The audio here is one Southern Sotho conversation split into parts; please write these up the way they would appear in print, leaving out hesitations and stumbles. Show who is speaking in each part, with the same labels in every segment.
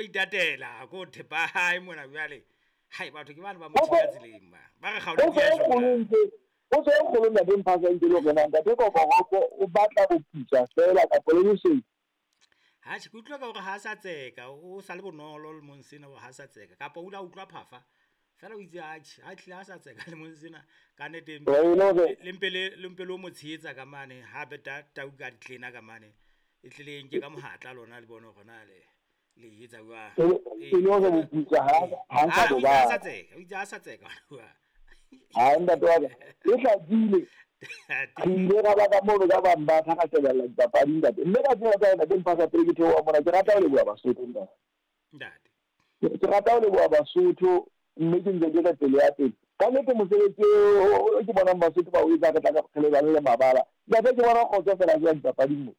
Speaker 1: Itatela ko thepa hae mona jwale. Hai, batho ke bane ba mo thiba tseleng ba. Ba re kgaolo
Speaker 2: Potso
Speaker 1: ya
Speaker 2: e kgolo ntse, potso e kgolo, ntate Mphasa, ntse le hore na ntate Kokoropo o batla boputswa feela kapa le bosweu?
Speaker 1: Atjhe, ke utlwa ka hore ha sa tseka, o sa le bonolo lemong sena hore ha sa tseka, kapa o ile a utlwa phafa. Feela o itse atjhe, ha hlile ha sa tseka lemong sena ka nnete.
Speaker 2: E le hore
Speaker 1: Le mpe le o mo tshehetsa ka mane ha beta tau ka ditlena ka mane. E tle le nke ka mohatla lona, le bone hore na le e etsa jwang.
Speaker 2: E le hore boputswa ha sa
Speaker 1: Ah,
Speaker 2: bo
Speaker 1: o itse ha sa
Speaker 2: batla.
Speaker 1: tseka, o itse ha sa tseka.
Speaker 2: Ha, ntate wa ka, e hlakile. Re ile ra ba ka mono ka bang ba tla ka shebella dipapadi, ntate. Mme ka tsena tsa ntate Mphasa, pele ke theoha mona, ke rata ho leboha Basotho, ntate.
Speaker 1: Ntate.
Speaker 2: Ke rata ho leboha Basotho, mme ke ntse ke re pele ya pele. Ka nnete mosebetsi o ke bonang Basotho ba o etsa, re tla re lebane le mabala. Ntate, ke bona kgotso fela jwang dipapading mo.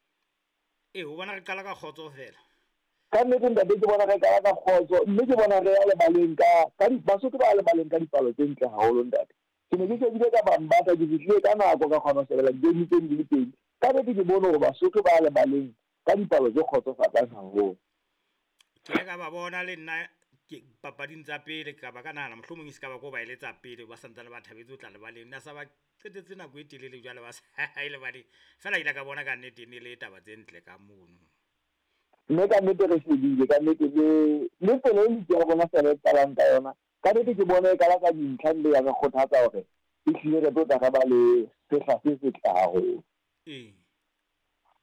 Speaker 1: Ee, o bona re qala ka kgotso fela.
Speaker 2: Ka nnete, ntate, ke bona re qala ka kgotso, mme ke bona re ya lebaleng ka Basotho ba ya lebaleng ka dipalo tse ntle haholo, ntate. Ke ne ke shebile ka Bambata, ke fihlile ka nako, ka kgona ho shebella di-game tse di le pedi. Ka nnete ke bone hore Basotho ba ya lebaleng ka dipalo tse kgotsofatsang haholo.
Speaker 1: Ke ile ka ba bona le nna ke papading tsa pele, ka ba ka nahana mohlomong e se ka ba ko ba eletsa pele ba santsane ba thabetse ho tla lebaleng. Na sa ba qetetse nako e telele jwale ba sa ye lebaleng. Feela ile ka bona ka nnete e ne le taba tse ntle ka mono.
Speaker 2: Mme ka nnete re shebile ka nnete le tsela e league ya rona fela e qalang ka yona. Ka nnete ke bone e qala ka dintlha, mme ya re kgothatsa hore ehlile re tlo tla re ba le sehla se setle haholo.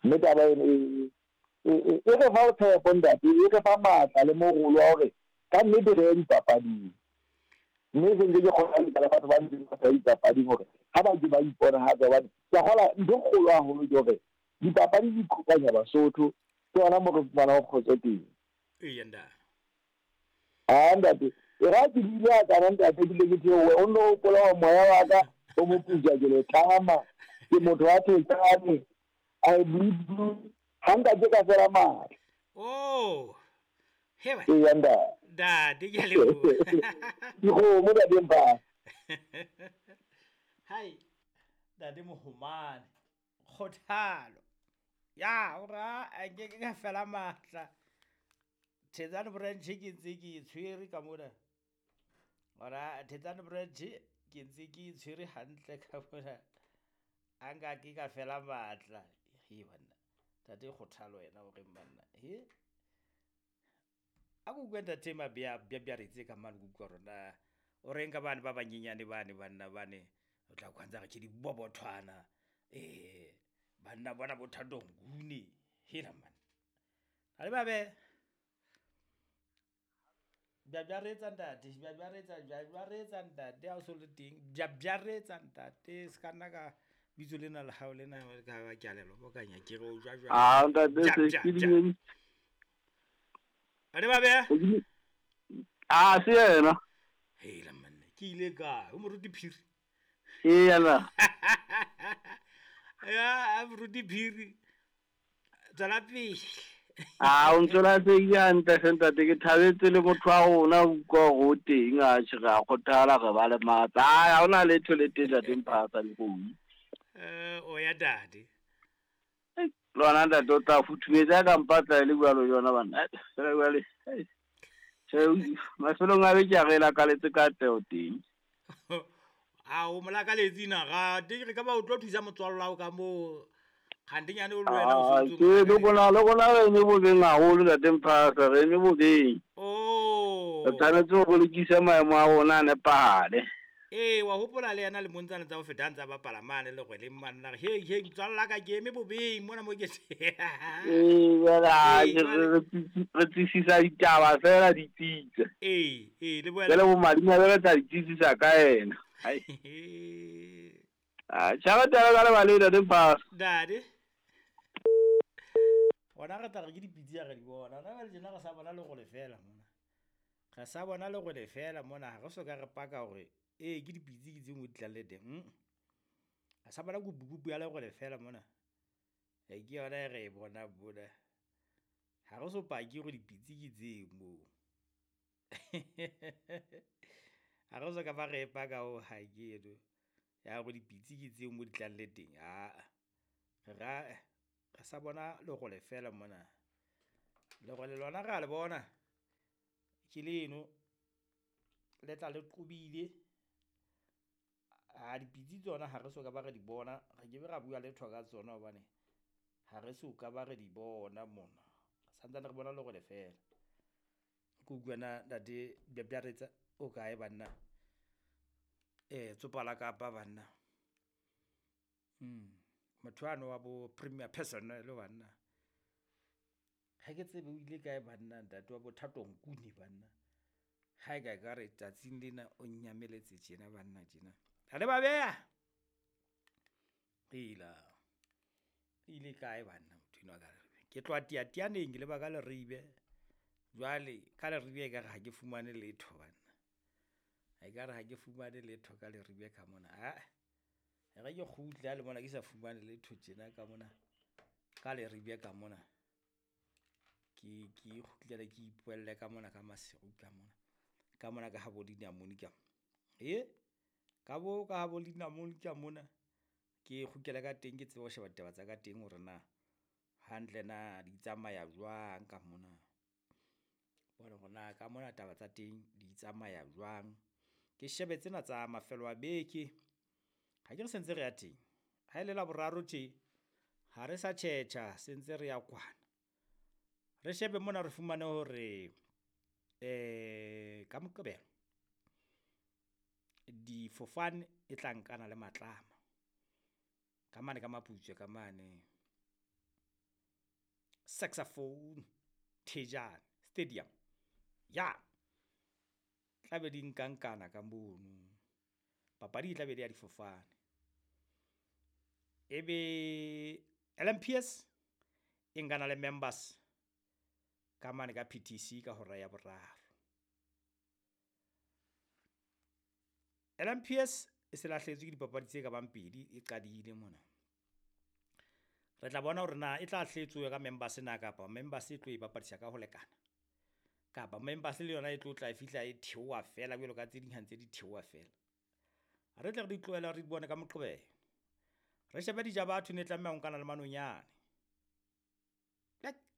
Speaker 2: Mme taba eno e re fa tshepo, ntate, e re fa matla le morolo wa hore ka nnete re ye dipapading. Mme se ntse ke kgothaletsa le batho ba ntseng ba sa ye dipapading hore ha ba ke ba iponahatsa, hobane ke a kgolwa ntho e kgolo haholo ke hore dipapadi di kopanya Basotho, ke hona moo re fumanang kgotso teng.
Speaker 1: Eya, ntate.
Speaker 2: Ah, ntate, e ra ke bile a kana, ntate, ke ke theohe, o nno hopola hore moya wa ka o moputswa, ke le tlama, ke motho wa Thetsane, I bleed blue, ha nka ke ka fela matla.
Speaker 1: Oh. He ba.
Speaker 2: Eya, ntate.
Speaker 1: Ntate, ke a leboha.
Speaker 2: Dikgomo, ntate Mphasa.
Speaker 1: Hai, ntate Mohomane. Kgothalo. Ya, ora a nke ke ka fela matla. Thetsane branch ke ntse ke e tshwere ka mona. Ora Thetsane branch ke ntse ke e tshwere hantle ka mona. A nka ke ka fela matla. He banna. Ntate Kgothalo yena o reng banna. He. A ko utlwe ntate Mabea Bjabjaretse ka mane, ke utlwa hore na o reng ka bane ba banyenyane bane, banna bane o tla kwa ntse re ke dibobothwana, banna bona bo Thato Nguni. Hela man, ha le babe bjabjaretsa, ntate, bjabjaretsa, bjabjaretsa, ntate, ha o so le teng, bjabjaretsa, ntate, se ka nna ka bitso lena la hao lena ka ba ke a le lobokanya, ke re o jwa jwang?
Speaker 3: Ah, ntate,
Speaker 1: Ja,
Speaker 3: se
Speaker 1: ja,
Speaker 3: ke
Speaker 1: ja. Ha le babe.
Speaker 3: Ah, se yena.
Speaker 1: Hela manna, ke ile kae o moruti Phiri?
Speaker 3: Eya na.
Speaker 1: Ya moruti Phiri, tswela pele.
Speaker 3: Ah, o ntse la se hantle hle, ntate, ke thabetse le motho wa rona, o utlwa hore o teng, atjhe, re a kgothala, re ba le matla. Ai, ha hona letho le teng, ntate Mphasa le kgomo.
Speaker 1: O ya ntate.
Speaker 3: Lona, ntate, o tla futhumetse ka mpatla e le jwalo yona banna. Fela jwale, tjhe, mafelong a beke a re lakaletse katleho teng.
Speaker 1: A o molakaletsi na ga te re ka ba o tlo thusa motswallo wa hao ka moo kgantenyane o le wena o
Speaker 3: Ah,
Speaker 1: so
Speaker 3: ke le rona re eme bobeng haholo, ntate Mphasa, re eme bobeng.
Speaker 1: Oh.
Speaker 3: Re tshwanetse ho bolokisa maemo a rona a nepahale.
Speaker 1: Ee, wa hopola le yena lemong tsane tsa ho feta a ntse a bapala mane lerweleng mane, la re hei hei, motswalla ka, ke eme bobeng mona mo ke
Speaker 3: Ee, jwale
Speaker 1: Ee,
Speaker 3: atjhe, re tsisisa ditaba fela di tsitse.
Speaker 1: Ee, le
Speaker 3: Jwale
Speaker 1: boela
Speaker 3: bomadimabe re tla di tsitsisa ka yena. Ai. Ah, tjha, re tla ka lebaleng, ntate Mphasa.
Speaker 1: Ntate, gona re tla re ke dipitsi ya re di bona gona jwale tjena, re sa bona lerole fela mona, re sa bona lerole fela mona, ha re so ka re paka hore ee ke dipitsi ke tse mo di tlang le teng. Re sa bona kupukupu ya lerole fela mona, e ke yona e re e bonang mona, ha re so pake hore dipitsi ke tseo moo, ha re so ka ba re e paka ho hang eno ya hore dipitsi ke tseo mo di tlang le teng. Aa, re sa bona lerole fela mona, lerole lona re a le bona. Ke leno le tla le qobile. A dipitsi tsona ha re so ka ba re di bona, re ke be ra bua letho ka tsona hobane ha re so ka ba re di bona mona. Santsane re bona lerole feela. Ke utlwe na ntate Bjabjaretsa o kae banna? Tsopa la Kapa banna. Motho ano wa bo Premier Personnel banna. Ha ke tsebe o ile kae banna ntate wa bo Thato Nkuni banna. Ha e ka ekare tsatsing lena o nyameletse tjena banna tjena. Ha le ba beha. Ela. Ile kae banna motho enwa ka re. Ke tloha Teatianeng ke leba ka Leribe. Jwale ka Leribe ekare ha ke fumane letho banna. Ekare ha ke fumane letho ka Leribe ka mona. Ah. Re ke kgutle ha le mona ke sa fumane letho tjena ka mona. Ka Leribe ka mona. Ke kgutlele ke ipoelle ka mona ka Maseru ka mona. Ka mona ka habo dinamone ka. Ka bo ka habo dinamone ka mona. Ke kgutlele ka teng ke tsebe ho sheba ditaba tsa ka teng hore na hantle na di tsamaya jwang ka mona. Bona hore na ka mona taba tsa teng di tsamaya jwang. Ke shebe tsena tsa mafelo a beke. Ha ke re sentse re ya teng. Ha ile la boraro tje ha re sa tjhetjha sentse re ya kwana. Re shebe mona re fumane hore ka Moqebelo difofane e tla nkana le Matlama. Ka mane ka Maputswe ka mane Saxophone Thejane Stadium. Ya. Tla be di nkankana ka mono. Papadi e tla be le ya difofane. Ebe LMPS e nkana le members ka mane ka PTC ka hora ya boraro. LMPS e se lahlehetswe ke dipapadi tse ka bang pedi e qadile mona. Re tla bona hore na e tla hletswe ka members na kapa members e tlo e bapadisa ka ho lekana. Kapa members le yona e tlo tla e fihla e theoha fela jwalo ka tse ding ha ntse di theoha fela. Re tle re di tlohele re di bone ka Moqebelo. Re shebe Dijabatho ne tlameha ho nkana le Manonyane.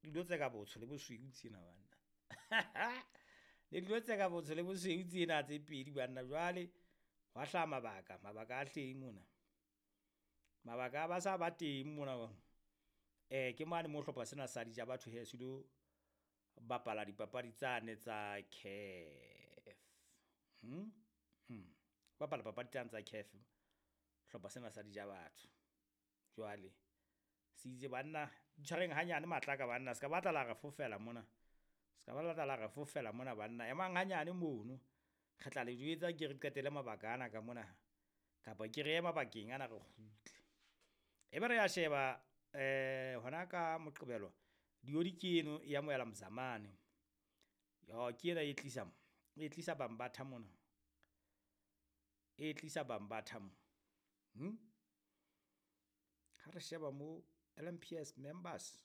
Speaker 1: Dilo tse ka botsho le bosweu tsena banna. Le dilo tse ka botsho le bosweu tsena tse pedi banna. Jwale hwa hlaha mabaka, mabaka a teng mona. Mabaka a ba sa ba teng mona. Ke mane mo hlopha sena sa Dijabatho he se lo bapala dipapadi tsane tsa CAF. Bapala papadi tsane tsa CAF. Hlopha sena sa Dijabatho. Jwale se itse banna tshwareng hanyane matlaka banna, se ka batla la re fofela mona. Se ka batla la re fofela mona banna. Emang hanyane mono. Re tla le jwetsa ke re qetele mabaka ana ka mona. Kapa ke re ema bakeng ana re kgutle. Ebe re ya sheba hona ka Moqebelo diodi ke eno ya moela Mzamane. Yo ke ena e tlisa mo. E tlisa Bambatha mona. E tlisa Bambatha mo. Ha re sheba mo LMPS members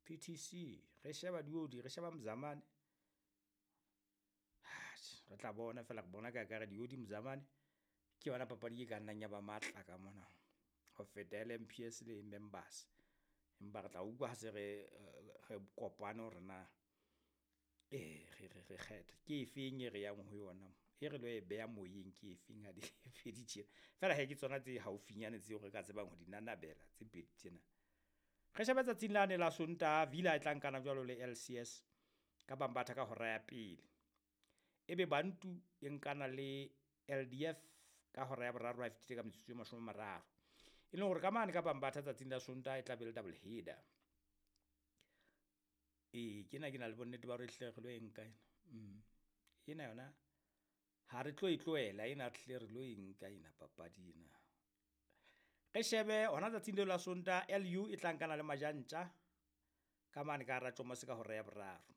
Speaker 1: PTC re sheba diodi re sheba Mzamane. Re tla bona fela re bona ka re diodi Mzamane ke yona papadi e ka nnang ya ba matla ka mona ho feta LMPS le members. Empa re tla utlwa ha se re kopane hore na re kgetha ke efeng e re yang ho yona, e re lo e beha moyeng ke efeng ha di fedi tjena. Fela he ke tsona tse haufinyane tseo re ka tsebang ho di nanabela tse pedi tsena. Re shebe tsatsing lane la Sontaha Villa e tla nkana jwalo le LCS ka Bambatha ka hora ya pele. Ebe Bantu e nkana le LDF ka hora ya boraro ha e fetile ka metsotso e 30. E leng hore ka mane ka Bambatha tsatsing la Sontaha e tla be le double header. Ke na ke na le bonnete ba hore hle re lo e nka ena. Ena yona ha re tlo e tlohela ena hle re lo e nka ena papadi ena. Re shebe hona tsatsing leo la Sontaha LU e tla nkana le Majantja ka mane ka hara Tjomose ka hora ya boraro.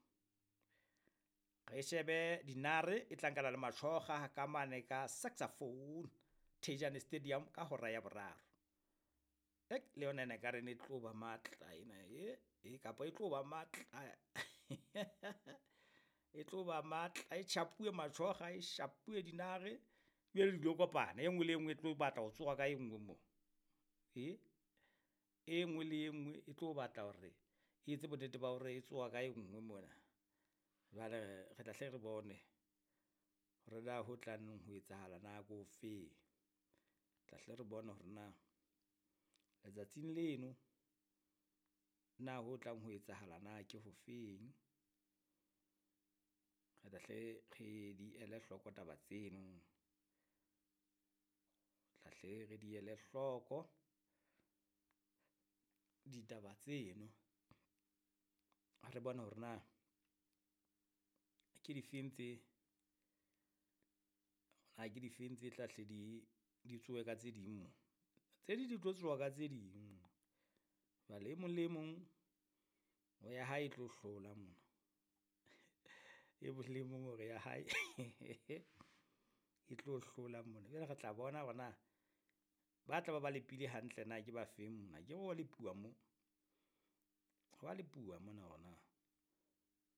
Speaker 1: Re shebe Dinare e tla nkana le Matshoga ka mane ka Saxophone Thejane Stadium ka hora ya boraro. Le yona ena ekare ne tlo ba matla ena kapa e tlo ba matla. E tlo ba matla e chapuwe Matshoga e shapuwe Dinare jwale di lo kopana e nngwe le e nngwe e tlo batla ho tsoha ka e nngwe mo. E nngwe le e nngwe e tlo batla hore E etse bonnete ba hore e tsoha ka e nngwe mona. Jwale re tla hle re bone hore na ho tlang ho etsahala na ke ofeng. Tla hle re bone hore na letsatsing leno na ho tlang ho etsahala na ke hofeng. Re tla hle re di ele hloko taba tseno, tla hle re di ele hloko ditaba tseno. Re bone hore na ke difeng tse, na ke difeng tse tla hle di tsohe ka tse ding mo. Tse ding di tlo tsoha ka tse ding, jwale e mong le e mong o ya hae e tlo hlola mona. E mong le mong o re ya hae e tlo hlola mona. Jwale re tla bona hore na ba tla ba ba lepile hantle na ke ba feng mona, akere ho wa lepuwa mo, ho wa lepuwa mona hore na.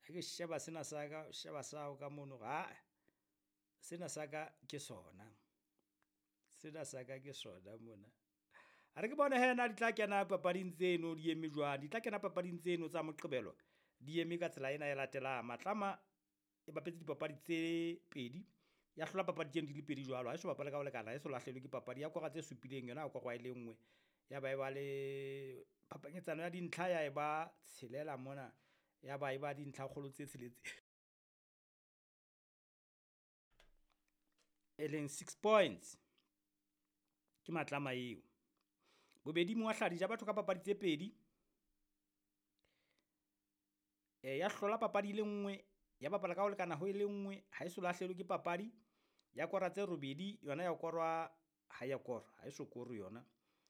Speaker 1: Ha ke sheba sena sa ka, o sheba sa hao ka mono hore ae sena sa ka ke sona, sena sa ka ke sona mona. A re ke bone hee na di tla kena papading tseno di eme jwang, di tla kena papading tseno tsa Moqebelo di eme ka tsela ena e latelang. Matlama e bapetse dipapadi tse pedi, ya hlola papadi tseno di le pedi jwalo, ha e so bapale ka ho lekana, ha e so lahlehelwe ke papadi. Ya kora tse supileng yona ya korwa e le nngwe, ya ba e ba le phapanyetsano ya dintlha ya e ba tshelela mona, ya ba e ba dintlha kgolo tse tsheletseng e leng six points. Ke Matlama eo. Bobedi Moahladi ja batho ka papadi tse pedi, ya hlola papadi e le nngwe, ya bapala ka ho lekana ho e le nngwe, ha e so lahlehelwe ke papadi. Ya kora tse robedi, yona ya korwa ha ya korwa, ha e so korwe yona.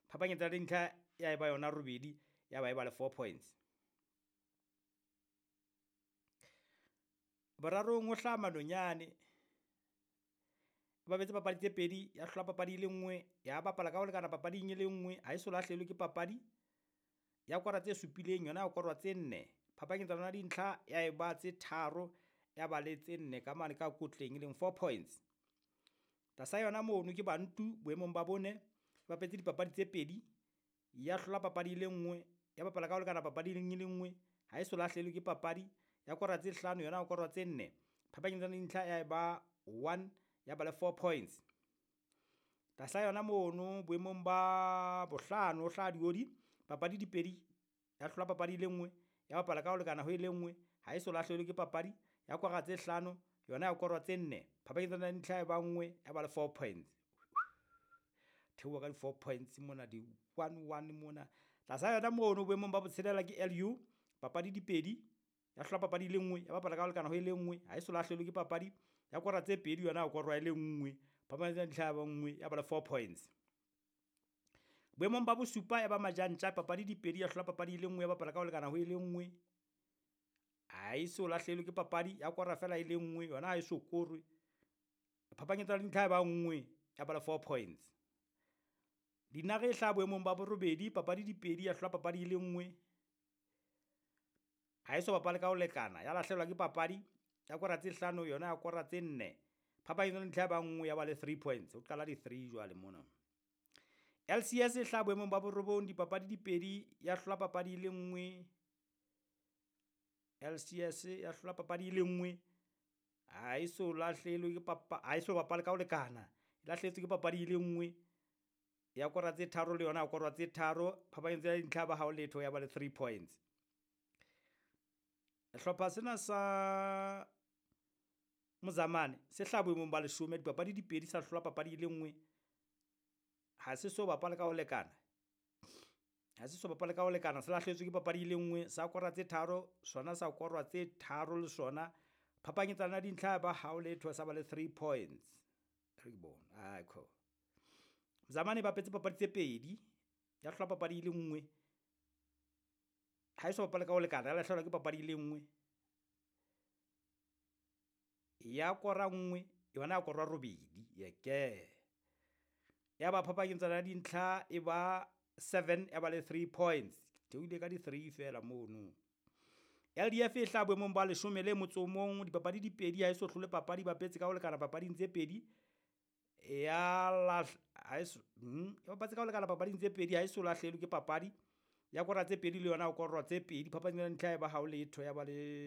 Speaker 1: Phapanyetsa ya dintlha ya eba yona robedi, ya ba e ba le 4 points. Borarong ho hlaha Manonyane, ba bapetse papadi tse pedi, ya hlola papadi e le nngwe, ya bapala ka ho lekana papading e le nngwe, ha e so lahlehelwe ke papadi. Ya kora tse supileng, yona ya korwa tse nne. Phapanyetsano ya dintlha ya eba tse tharo, ya ba le tse nne ka mane ka kotleng e leng 4 points. Tlasa yona mono ke Bantu boemong ba bone, ba bapetse dipapadi tse pedi, ya hlola papadi e le nngwe, ya bapala ka ho lekana papading e le nngwe, ha e so lahlehelwe ke papadi. Ya kora tse hlano, yona ya korwa tse nne. Phapanyetsano ya dintlha ya eba 1, ya ba le 4 points. Tlasa yona mono boemong ba bohlano ho hlaha Diodi, papadi di pedi, ya hlola papadi e le nngwe, ya bapala ka ho lekana ho e le nngwe, ha e so lahlehelwe ke papadi. Ya kora tse hlano, yona ya korwa tse nne. Phapanyetsano ya dintlha ya eba 1, ya ba le 4 points. Theoha ka di 4 points mona, di 1 1 mona. Tlasa yona mono boemong ba botshelela ke LU, papadi di pedi, ya hlola papadi e le nngwe, ya bapala ka ho lekana ho e le nngwe, ha e so lahlehelwe ke papadi. Ya kora tse pedi, yona ya korwa e le nngwe. Phapanyetsano ya dintlha ya ba 1, ya ba le 4 points. Boemong ba bosupa ya ba Majantja, papadi di pedi, ya hlola papadi e le nngwe, ya bapala ka ho lekana ho e le nngwe, ha e so lahlehelwe ke papadi, ya kora fela e le nngwe, yona ha e so korwe. Phapanyetsano ya dintlha ya ba 1, ya ba le 4 points. Dinare e hlaha boemong ba borobedi, papadi di pedi, ya hlola papadi e le nngwe, ha e so bapale ka ho lekana, ya lahlehelwa ke papadi, ya kora tse hlano, yona ya kora tse nne. Phapanyetsano ya dintlha ya ba 1, ya ba le 3 points. Ho qala di 3 jwale mona. LCS e hlaha boemong ba borobong, dipapadi di pedi, ya hlola papadi e le nngwe. LCS ya hlola papadi e le nngwe, ha e so lahlehelwe ke ha e so bapale ka ho lekana, e lahlehetswe ke papadi e le nngwe, ya kora tse tharo le yona ya korwa tse tharo. Phapanyetsano ya dintlha ba hao letho, ya ba le 3 points. Hlopha sena sa Mozamane se hlaha boemong ba leshome, dipapadi di pedi, sa hlola papadi e le nngwe, ha se so bapale ka ho lekana, ha se so bapale ka ho lekana, se lahlehetswe ke papadi e le nngwe, sa kora tse tharo, sona sa korwa tse tharo le sona. Phapanyetsano ya dintlha ba hao letho, sa ba le 3 points. Re ke bone, ai kho. Mozamane ba bapetse papadi tse pedi, ya hlola papadi e le nngwe, ha e so bapale ka ho lekana, ya lahlehelwa ke papadi e le nngwe, ya kora nngwe, yona ya korwa robedi. Yeke ya ba phapanyetsano ya dintlha e ba 7, ya ba le 3 points. Theohile ka di 3 fela mono. LDF e hlaha boemong ba leshome le motso o mong, dipapadi di pedi, ha e so hlole papadi, bapetse ka ho lekana papading tse pedi, ya ya bapatse ka ho lekana papading tse pedi, ha e so lahlehelwe ke papadi. Ya kora tse pedi le yona o korwa tse pedi. Phapanyetsano ya dintlha ya ba ha ho letho ya ba le.